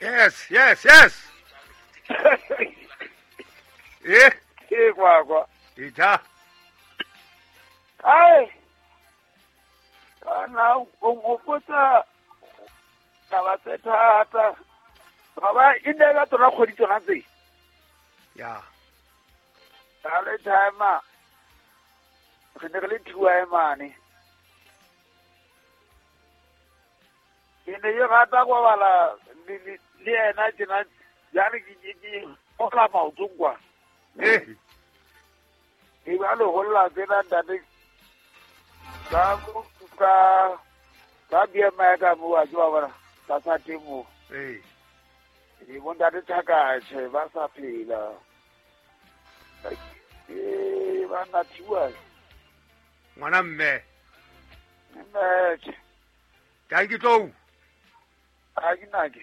Yes, yes, yes. Eh, Ke kwa kwa. Ita. Ai. Kana o nkgopotsa taba tse thata. Baba e ne ka tsona kgwedi tsona tse. Ya. Ka le timer. Re ne re le two mane. Ke ne ke rata go bala le yena tjena jale ke ola maotong kwa. Eh. Ke ba le holla tsena ntate. Ka ka ka BMI ka mo wa tswa bona ka sa teng mo. Eh. Ke bo ntate Thakatjhe ba sa phela. Eh ba na thiwa. Ngwana mme. Mme. Thank you tlou. Ha ke na ke.